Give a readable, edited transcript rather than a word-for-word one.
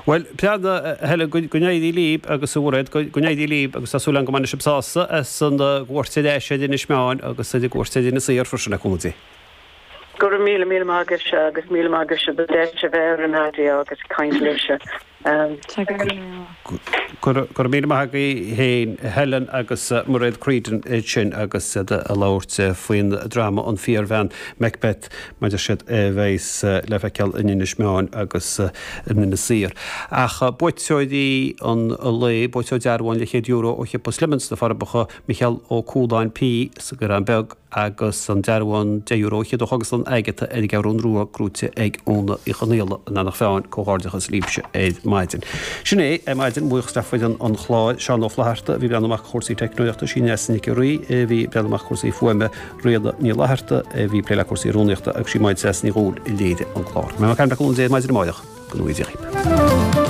Bhuel, a Helen, go n-éirí libh agus a Mhairéad, go n-éirí libh agus tá súil agam go mbainfidh sibh sásamh as an gcuairt ar ais ar Inis Meáin agus ar an gcuairt ar Inis Oírr freisin, le cúnamh Dé. Go raibh míle míle maith agaibhse agus míle maith agaibhse don deis a bheith ar an raidió agus ag caint libhse. Go raibh míle maith agaibh féin, Helen agus Mairéad Creedon ansin agus iad ag labhairt faoin dráma An Fíorbhean Macbeth mar a deir siad a bheas le feiceáil in Inis Meáin agus in Inis Oírr. Ach buaiteoirí an lae, buaiteoir dearbhán leathchéad euro ó shiopa Slimmons sna Forbacha, Micheál Ó Cualáin P sa gCaorán Beag, agus an dearbhán €10 ó Chógaslann Agatha ar an gCeathrú Rua gnóite ag Úna Uí Chonaola in Eanach Mheáin. Comhghairdeachas libhse ar maidin. Sin é ar maidin. Buíochas le foireann an chláir, Seán Ó Flatharta a bhí ag breathnú amach chúrsaí teicneolaíochta, sí Neasa Nic an Rí a bhí ag breathnú amach cúrsaí fuaime, Ríona Ní Fhlatharta a bhí ag plé le cúrsaí rúnaíochta agus sí Máire Treasa Ní Dhubhghaill a léirigh an clár. Mé Mac Cúnamh Dé ar maidin amárach. Go ngnóthaí Dia dhaoibh.